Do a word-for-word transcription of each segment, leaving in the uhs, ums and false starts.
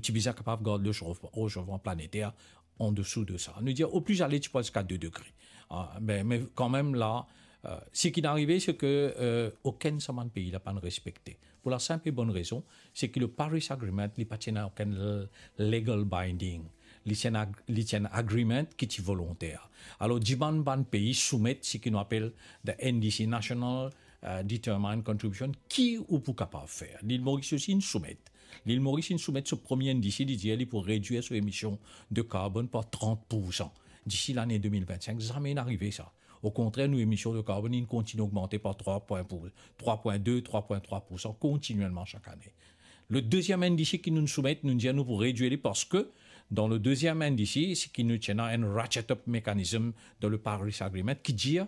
ti bizin kapav gard le chauffe-, rechofman planeter andesou de sa. Nou dir, o pli ale, ti pou al ziska de degre. Ah, me, me kanmem la, eh, seki inn arive, se ke, eh, okenn sa bann pei la pa'nn respekte. Pou la sinp e bonn rezon, se ki le Paris Agreement, li pa ti ena okenn l-, legal binding. Li ti enn ag-, li ti enn agreement ki ti volonter. Alor, dimann bann pei soumet seki nou apel the N D C, National, eh, Determined Contribution, ki ou pou kapav fer. Lil Moris osi inn soumet. Lil Moris inn soumet so premie N D C, li dir li pou redwir so emision de karbonn par trant poursan disi lane de mil vennsink. Zame inn arive sa. Okontrer, nou emision de karbonn inn kontigne ogmante par trwa pwin pou, trwa pwin de, trwa pwin trwa poursan kontinielman sak ane. Le deziem N D C ki nou soumet, nou dir nou pou redwir li parski dan le deziem N D C, seki nou ti ena enn ratchet up mechanism dan le Paris Agreement ki dir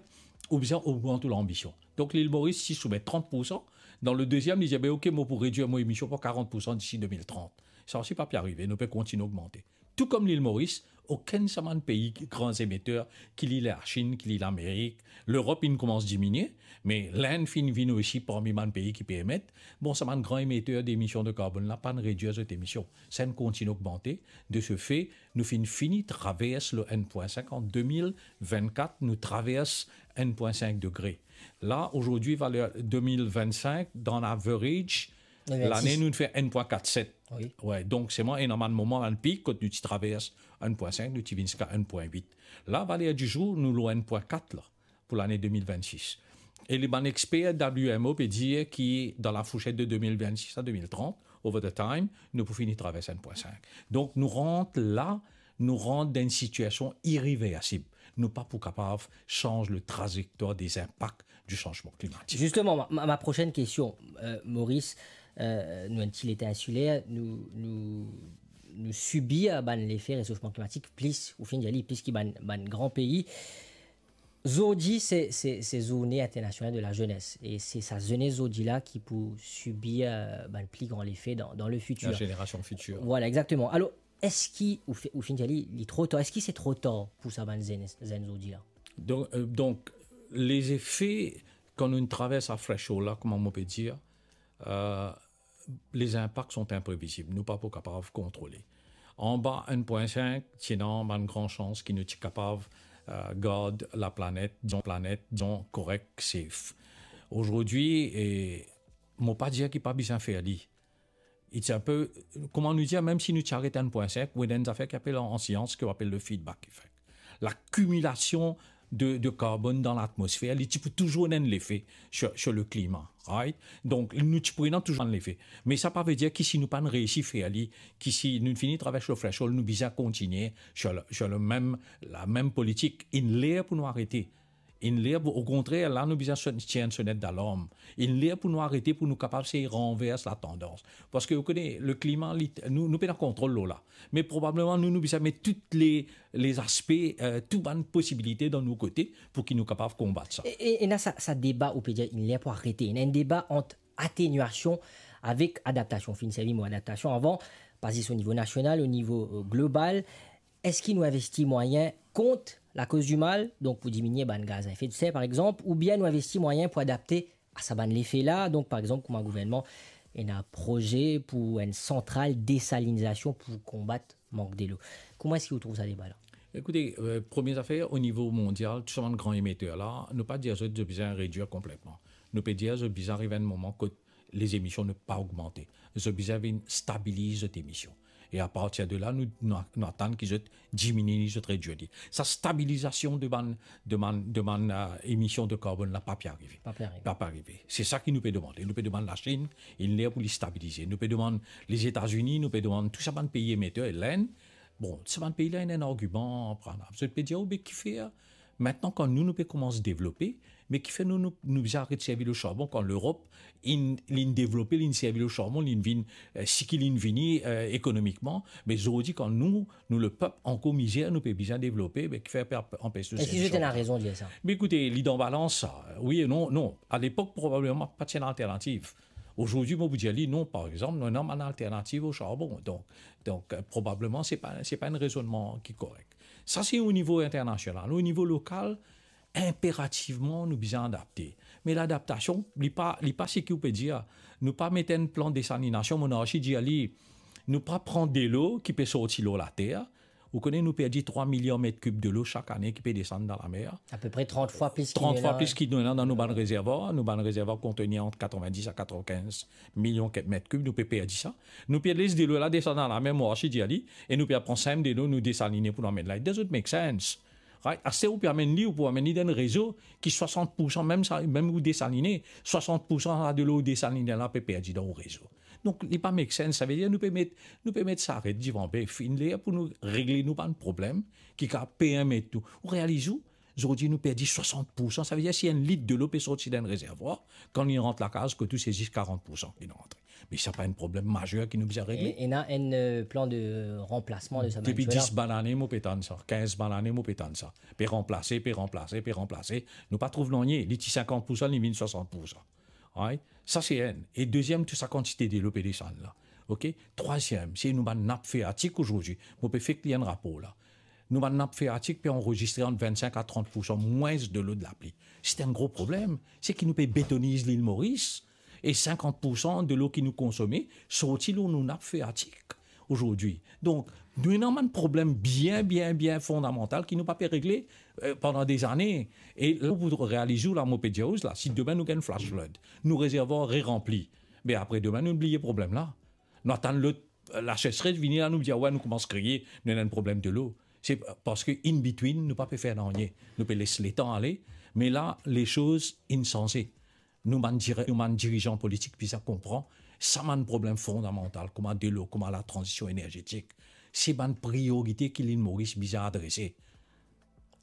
ou bizin ogmant ou lanbision. Donk, Lil Moris ti soumet trant poursan, dan le deziem, li dir, "Be, ok, mo pou redwir mo emision par karant poursan disi de mil trant." Sa osi pa pe arive, nou pe kontigne ogmante. Tou kom Lil Moris, okenn sa bann pei gran emeter, ki li Lachinn, ki li Lamerik, Lerop inn koumans diminie, me Lind finn vinn osi parmi bann pei ki pe emet. Bon, sa bann gran emeter demision de karbonn la, pa'nn redwir zot emision. Sa inn kontigne ogmante. De se fe, nou finn fini travers le enn pwin sink an de mil vennkat, nou travers enn pwin sink degre. La, azordi, valer de mil vennsink, dan average, lane, nou fer enn pwin kat set. Wi. Wi, donk, selman ena bann moman, bann pik, kot nou ti travers enn pwin sink, nou ti vinn ziska enn pwin wit. La, valer dizour, nou lor enn pwin kat la, pou lane de mil vennsis. E li bann exper W M O pe dir ki dan la fourset de de mil vennsis a de mil trant, over the time, nou pou fini travers enn pwin sink. Donk, nou rant la, nou rant dan enn sitiasion ireversib. Nou pa pou kapav sanz le trazektwar de zinpak di sanzman klimatik. Justement, ma, ma, ma prochaine question, euh, Moris, euh, nou enn ti leta insiler, nou, nou, nou sibir bann lefe resofman klimatik plis, ou finn dir li, plis ki bann, bann gran pei. Zordi, se, se, se Zourne Internasional de la Zenes. E se sa zenes zordi la ki pou sibir, euh, bann pli gran lefe dan, dan le fitir. La génération future. Voilà, exactement. Alor, eski, ou fi-, ou finn dir li, li tro tar, eski se tro tar pou sa bann zenn, zenn zordi la? Donk, euh, donk, lezefe, kan nou travers sa threshold la, kouma mo pe dir, euh, les impacts sont imprévisibles. Nou pa pou kapav kontrole. Anba enn pwin sink, ti ena bann gran sans ki nou ti kapav, euh, gard laplanet, dizon, planet, dizon, korek, safe. Azordi, e mo pa dir ki pa bizin fer li. It's a peu, kouma nou dir, mem si nou ti aret enn pwin sink, ou ena enn zafer ki apel an, an sians, ki apel le feedback effect. Lakimilasion de, de karbonn dan latmosfer, li ti pou touzour ena enn lefe sur, sur le climat, right? Donk, nou ti pou ena touzour enn lefe. Me sa pa ve dir ki si nou pa'nn reisi fer li, ki si nou fini travers le threshold, nou bizin kontigne sur le, sur le mem, la mem politik. Inn ler pou nou arete. Inn ler pou, okontrer, la nou bizin son-, tir enn sonet dalarm. Inn ler pou nou arete, pou nou kapav sey ranvers latandans. Parski, ou kone, le klima, li, nou, nou pena kontrol lor la. Me probableman, nou, nou bizin met tou le, le zaspe, euh, tou bann posibilite dan nou kote pou ki nou kapav konbat sa. E, e, ena sa, sa deba, ou pe dir, inn ler pou arete. Ena enn deba ant ateniasion avek adaptasion. Finn servi mo adaptasion avan, pa zis o nivo nasional, o nivo, euh, global. Eski nou investi mwayin kont lakoz di mal, donk pou diminie bann gaz a efe de ser, par exanp, oubien nou investi mwayin pou adapte a sa bann lefe la, donk, par exanp, kouma gouvernman ena proze pou enn santral desalinizasion pou konbat mank delo. Kouma eski ou trouv sa deba la? Ekoute, euh, premie zafer, o nivo mondial, tou sa bann gran emeter la, nou pa dir zot, zot bizin redwir konpletman. Nou pe dir zot bizin ariv enn moman kot lezemision ne pa ogmante. Zot bizin vinn stabiliz zot emision. E apartir de la, nou, nou, nou atann ki zot diminie li, zot redwir li. Sa stabilizasion de bann, de bann, de bann, euh, emision de karbonn la pa pe arive. Pa pe arive. Pa pe arive. Se sa ki nou pe demande. Nou pe demann Lachinn, inn ler pou li stabilize. Nou pe demann Lezetazini, nou pe demann tou sa bann pei emeter, e Lind. Bon, sa bann pei la, ena enn argiman, par exanp. Zot pe dir, "O, be kifer, mintnan kan nou, nou pe koumans devlope, me kifer nou, nou, nou bizin aret servi le charbon kan Lerop, inn, linn devlope, linn servi le charbon, linn vinn, euh, seki linn vini, euh, ekonomikman, me zordi kan nou, nou lepep ankor mizer, nou pe bizin devlope, be kifer pe ap-, anpes nou servi charbon?" Eski zot ena rezon dir sa? Be ekoute, li dan balans sa. Wi e non, non. A lepok, probableman, pa ti ena alternativ. Azordi, mo pou dir li, non, par exanp, nou ena bann alternativ o charbon. Donk, donk, euh, probableman, se pa, se pa enn rezonnman ki korek. Sa, se o nivo internasional. O nivo lokal, inperativman, nou bizin adapte. Me ladaptasion, li pa, li pa seki ou pe dir. Nou pa met enn plan desalinasion, mo ena osi dir li, Nou pa pran delo ki pe sorti lor later. Ou kone, nou perdi trwa miliar met kib delo sak ane ki pe desann dan lamer. Apepre trant fwa plis ki nou ena. Trant fwa plis ki nou ena dan nou bann rezervwar. Nou bann rezervwar kontenir ant katrevin-dis a katrevin-kinz milion ke-, met kib, nou pe perdi sa. Nou pe les delo la desann dan lamer, mo osi dir li, e nou pe al pran sa mem delo, nou desaline pou nou amenn la. It doesn't make sense. Right? Aster ou pe amenn li, ou pou amenn li dan enn rezo ki swasant poursan, mem sa, mem ou desaline, swasant poursan sa delo ou desaline la pe perdi dan ou rezo. Donk, li pa make sense. Savedir nou pe met, nou pe met saret divan be, finn ler pou nou regle nou bann problem ki kapav permet nou. Ou realiz ou, zordi nou perdi swasant poursan. Savedir si enn lit delo pe sorti dan enn rezervwar, kan li rant lakaz, kot ou se zis karant poursan ki rantre. Me sa pa enn problem mazer ki nou bizin regle. E, ena enn, euh, plan de ranplasman de sa bann delo la? Depi dis bann ane, mo pe tann sa. Kinz bann ane, mo pe tann sa. Pe ranplase, pe ranplase, pe ranplase. Nou pa trouv nanye. Li ti sinkant poursan, li vinn swasant poursan. Right? Sa se enn. E deziem, tou sa kantite delo pe desann la. Ok? Trwaziem, se nou bann nap freatik azordi. Mo pe fek lir enn rapor la. Nou bann nap freatik pe anrezistre ant vinnsink a trant poursan mwins delo de lapli. Se enn gro problem. Se ki nou pe betoniz Lil Moris e sinkant poursan delo ki nou konsome sorti lor nou nap freatik azordi. Donk, nou ena bann problem bien, bien, bien fondamantal ki nou pa pe regle, euh, pandan dezane. E la, pou realiz ou la, mo pe dir ou la, si demin nou gagn flash flood, nou rezervwar reranpli, be apre demin, nou bliye problem la. Nou atann lot, euh, lasesres vini la, nou dir, "Wey, nou koumans kriye, nou ena enn problem delo." Se parski in between, nou pa pe fer nanye. Nou pe les letan ale, me la, lezot inn sanze. Nou bann dire-, nou bann dirizan politik bizin konpran sa bann problem fondamantal, kouma delo, kouma latranzision enerzetik. Se bann priorite ki Lil Moris bizin adrese.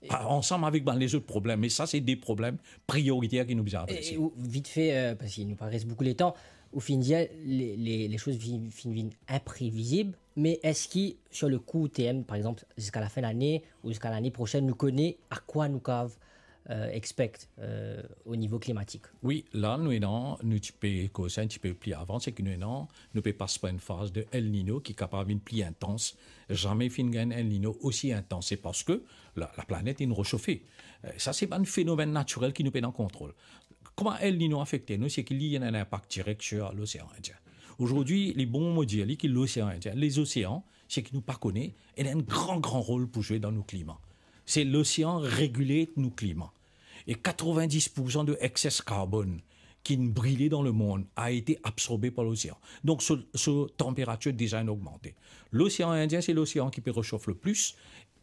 E a-, ansam avek bann lezot problem, me sa se de problem prioriter ki nou bizin adrese. E, e ou, vitfe, euh, parski nou pa res boukou letan, ou finn dir, le, le, lezot finn, finn vinn inprevizib, me eski, sur le court terme, par exanp, ziska lafin lane ou ziska lane prosenn, nou kone a kwa nou kav, euh, expect, euh, o nivo klimatik? Wi, la nou ena, nou ti pe koz enn tipe pli avan, se ki nou ena, nou pe pas par enn faz de El Niño ki kapav vinn pli intans. Zame finn gagn El Niño osi intans. Se parski la, laplanet inn resofe. Euh, sa se bann fenomenn natirel ki nou pena kontrol. Kouma El Niño afekte nou, se ki li ena enn inpak direk sir Losean Indien. Azordi, li bon mo dir li ki Losean Indien, lezosean, se ki nou pa kone, ena enn gran, gran rol pou zwe dan nou klima. Se losean regile nou klima. E katrevin-dis poursan de excess carbone ki'nn brile dan lemond a ete absorbe par losean. Donk, so, so tanperatir deza inn ogmante. Losean Indien, se losean ki pe resof le plis.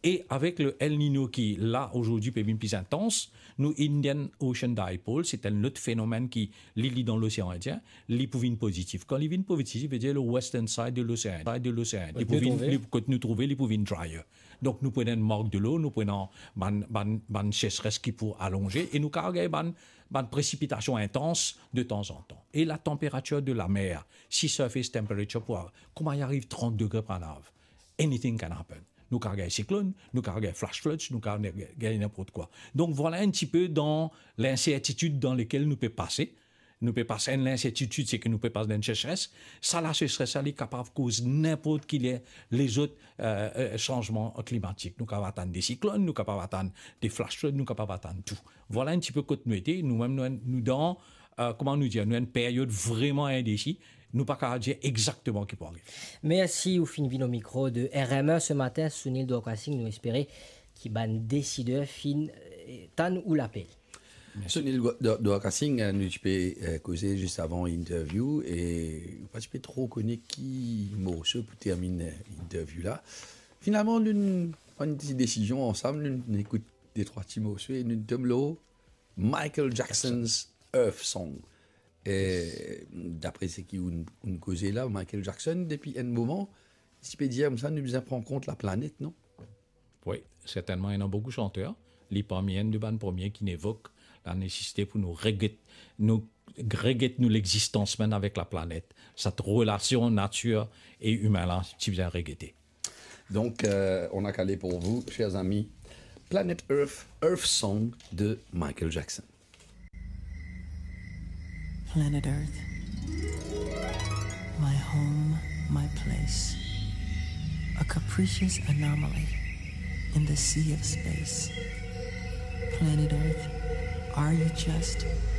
E avek le El Niño ki la, azordi, pe vinn pli intans, nou Indian Ocean Dipole, se enn lot fenomenn ki li, li dan Losean Indien, li pou vinn pozitif. Kan li vinn pozitif, vedir le western side de Losean, side de Losean, li pou vinn, li, kot nou trouve, li pou vinn drier. Donk, nou pou ena enn mank delo, nou pou ena bann, bann, bann seseres ki pou alonze, e nou kav gagn bann, bann presipitasion intans de tanzantan. E latanperatir de lamer, sea surface temperature pou, kouma li ariv trant degre par nav, anything can happen. Nou kav gagn siklonn, nou kav gagn flash floods, nou kav gagn ninport kwa. Donk, vwala enn tipe dan linsertitid dan lekel nou pe pase. Nou pe pas enn linsertitid, se ki nou pe pas dan enn seseres. Sa laseseres la, li kapav koz ninport ki le-, lezot, euh, euh, sanzman klimatik. Nou kapav atann de siklonn, nou kapav atann de flash flood, nou kapav atann tou. Vwala enn tipe kot nou ete, nou mem, nou, nou dan, euh, kouma nou dir, nou enn peryod vreman indesi. Nou pa kapav dir exakteman ki pou arive. Mersi, ou finn vinn o mikro de R M E se matin, Sunil Dwarka Singh, nou espere ki bann desider finn, euh, tann ou lapel. Mersi. Sunil Dwa-, Dwa-, Dwarka Singh, euh, nou ti pe, euh, koze zis avan interview, e ou pa ti pe tro kone ki morso pou termine, euh, interview la. Finalman, nou, nou pran enn ti desizion ansam, nou, nou ekout de trwa ti morso, e nou tom lor Michael Jackson's Earth Song. E, dapre seki ou, ou koze la, Michael Jackson, depi enn moman, si pe dir koumsa, nou bizin pran kont laplanet, non? Wi, sertennman, ena boukou santer. Li parmi enn de bann premie ki'nn evok lanesesite pou nou reget, nou reget nou lexistans mem avek laplanet. Set relasion natir e imin la, ti bizin regete. Donc, euh, on a calé pour vous, chers amis, Planet Earth, Earth Song de Michael Jackson. Planet Earth, my home, my place. A capricious anomaly in the sea of space. Planet Earth, are you just